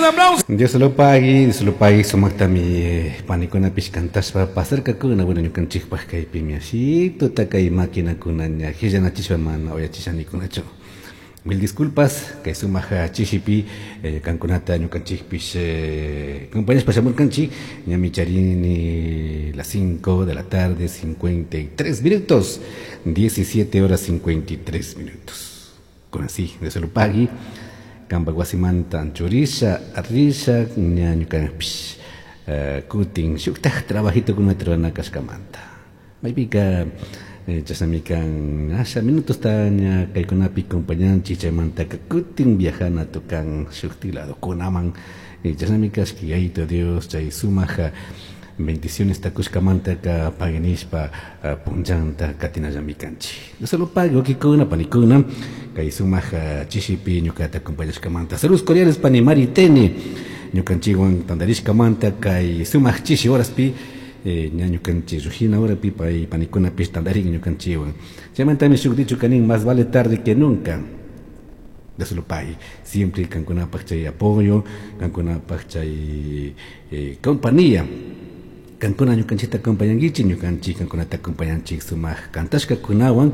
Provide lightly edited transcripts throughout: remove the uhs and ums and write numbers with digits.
aplauso. Dios lo pague, sumaqtami panikunapish cantashpa pasarkakuna, bueno, ñukanchikpaq kaypimi ashito kay maquinakuna ña hillanachishpa mana uyachishanikunachu. Mil disculpas, kay sumaq chishipi kankunata ñukanchikpish compañeros shamurkanchik, ñami charini las 5 de la tarde, 53 minutos, 17 horas 53 minutos. Con así, Dios lo pague. Kamba wasimanta anchurisha, arrisha, ña ñukanpish kutin shuktaj trabajito kunata rurana kashkamanta. Maypika chashnamikan asha minutos ta ña kaykunapi compañanchik chaymantaka kutin viajana tukan shuktik ladokunaman. Chashnami kashka Yayito Dios chay sumaja bendiciones takushkamantaka paguinishpa punllanta katinallami kanchik. Dios lo pague, wakikuna, panikuna, kay sumaja chishipi ñukata acompañashkamanta. Saludos cordiales pani Maritene, ñukanchikwan tantarishkamanta kay sumaj chishi horaspi, ña ñukanchik rujina horapi pay panikunapish tantarin ñukanchikwan. Chaymantami shuk dicho kanin, más vale tarde que nunca. Dios lo pague. Siempre kankunapaj chay apoyo, kankunapaj chay compañía. Kankuna ñukanchikta acompañankichik, ñukanchik kankunata acompañanchik sumaq kantashkakunawan,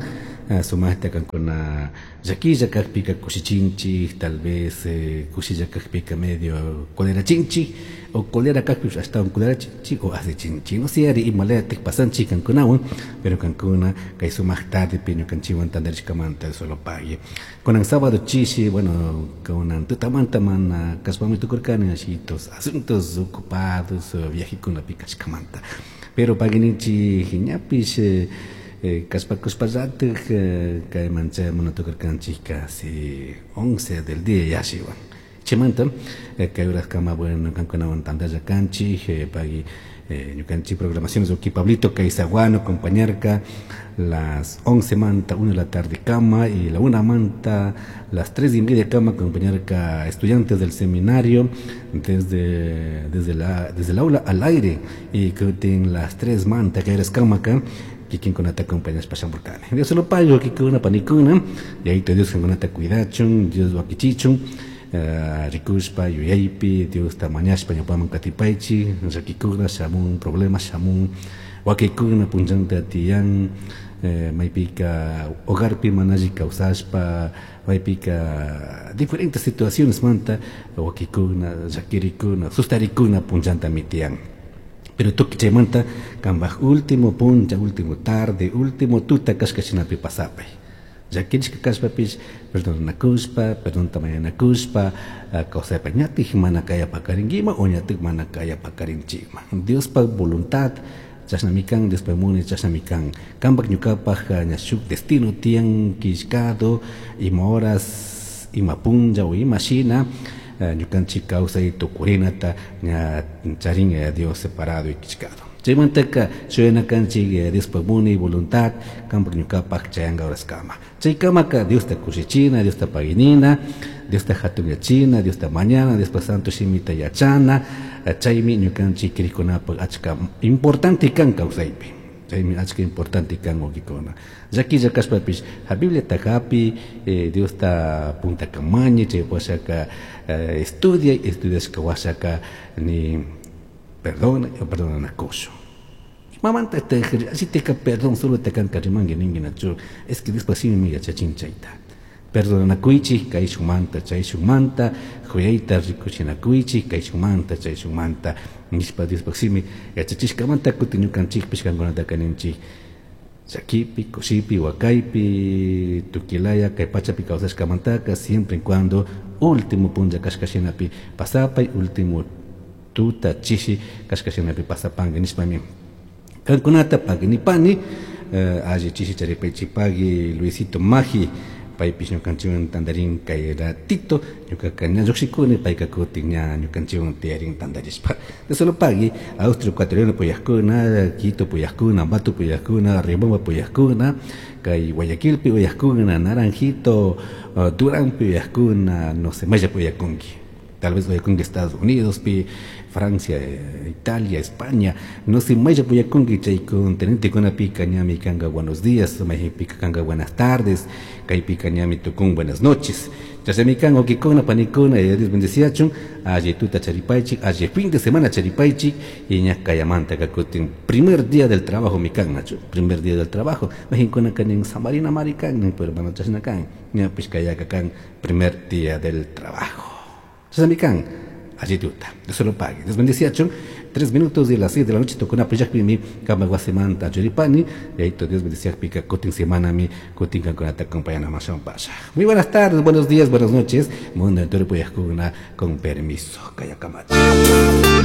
sumaqta kankuna llakilla kajpika kushichinchik, tal vez kushilla kajpika medio colerachinchik, o colera kajpi ashtawan colerachinchik o asichinchik. No sé, ari imalayatik pasanchik kankunawan, pero kankuna kay sumaq tardepi ñukanchikwan tantarishkamanta Dios lo pague. Kunan sábado chishi, bueno, kunan tutamanta mana kashpami tukurkani ashitos asuntos ocupados, viajekunapi kashkamanta. Pero paguinichik ñapish kashpakushpallatik kayman chaymuna tukurkanchik casi 11 del día yashiwan. Chaymanta kay horas kama, bueno, kankunawan tantalla kanchik, pagui ñukanchik programaciones uki Pablito Kaisaguano acompañarka las 11 manta, 1 de la tarde kama, y la 1 manta, las 3 y media kama acompañarka estudiantes del seminario desde el aula al aire, y que tienen las 3 manta que eres kama acá, kikin kunata acompañas pashamurkani. Dios se lo pago, kikuna panikuna, y ahí te Dios kunata cuidachun, Dios wakichichun, rikushpa, yuyaypi, Dios ta mañashpa ñupaman katipaychi, llakikuna, shamun problema, shamun wakikuna punllanta tiyan, maypika hogarpi manalli kawsashpa, maypika diferentes situaciones manta, wakikuna, llakirikuna, sustarikuna punllanta mitiyan. Pero tuki chaymanta kambaj último puncha, último tarde, último tuta kashka shinapi pasapay. Llakirishka kashpapish perdonakushpa, perdonta mañanakushpa, kawsaypa ñatik mana kaya pakarinkiman o ñatik mana kaya pakarinchikman. Diospa voluntad chashnami kan, Diospa muni chashnami kan. Kampak ñukapaj ña shuk destino tiyan killkado, ima horas, ima punlla o ima shina, ñukanchik kawsay tukurinata ña charin Dios separado y killkado. Chaymantaka shuyanakanchik Diospa muni voluntad kampak ñukapaj chayanga horaskama. Chaykamaka Diosta kushichina, Diosta paginina, Diosta hatunyachina, Diosta mañana, Diospa santo shimita yachana, chaymi ñukanchik krikunapaj achka importante kan kawsaypi. Chaymi achka importante kan wawqikuna. Llakilla kashpapish ha Bibliata hapi, Diosta puntakamañi, chay washaka, estudia, estudiashka washaka ni perdona, perdonanakushu. Mamanta te así te perdón solo te can karimangui ningui nachu, es que después sí me yachachin chayta. Perdonanakuichi, kayshumanta, chayshumanta, juyayta rikuchinakuichi, kayshumanta, chayshumanta, nishpa Dios paximi, yachachishkamanta kutin ñukanchikpish kankunata kaninchik. Llakipi, kushipi, wakaypi, tukilaya, kay pachapi kawsashkamantaka, siempre en cuando último punlla kashkashinapi pasapay, último tuta chishi kashkashinapi pasapanki nishpami. Kankunata paginipani, alli chishi charipaychi pagui Luisito Maji, paypish ñukanchikwan tantarin kay ratito, ñukaka ña lluqshikuni, payka kutin ña ñukanchikwan tiyarin tantarishpa. De solo pagui, Austria ecuatoriano puyajkuna, Quito puyajkuna, Ambato puyajkuna, Riobamba puyajkuna, kay Guayaquilpi puyajkuna, Naranjito, Durán puyajkuna, no sé, Maya puyakunki. Tal vez uyakunki Estados Unidos pi, Francia, Italia, España, no sé, mayllapi uyakunki chay continentekunapica ñami kanka buenos días, maypika kanka buenas tardes, kaypika ñami tukun buenas noches. Chashnami kan wawkikuna, panikuna, Yaya Dios bendeciachun, alli tuta charipaychik, alli fin de semana charipaychik, y ña kayamantaka kutin primer día del trabajo mi kan, nachu, primer día del trabajo, mayqinkunaka nin samarina mari kan, nin, pero mana chashna kan, ñapish kayaka kan primer día del trabajo. Chashnami kan, alli tuta, Dios se lo pague. Dios bendeciachun, 3 minutos de las 6 de la noche tukuna pillakpimi kama wasimanta churipani, Yayito Dios bendeciakpika kutin semanami kutin kankunata acompañana pasha. Muy buenas tardes, buenos días, buenas noches, mundo entero puyajkuna con permiso, kayakamachi.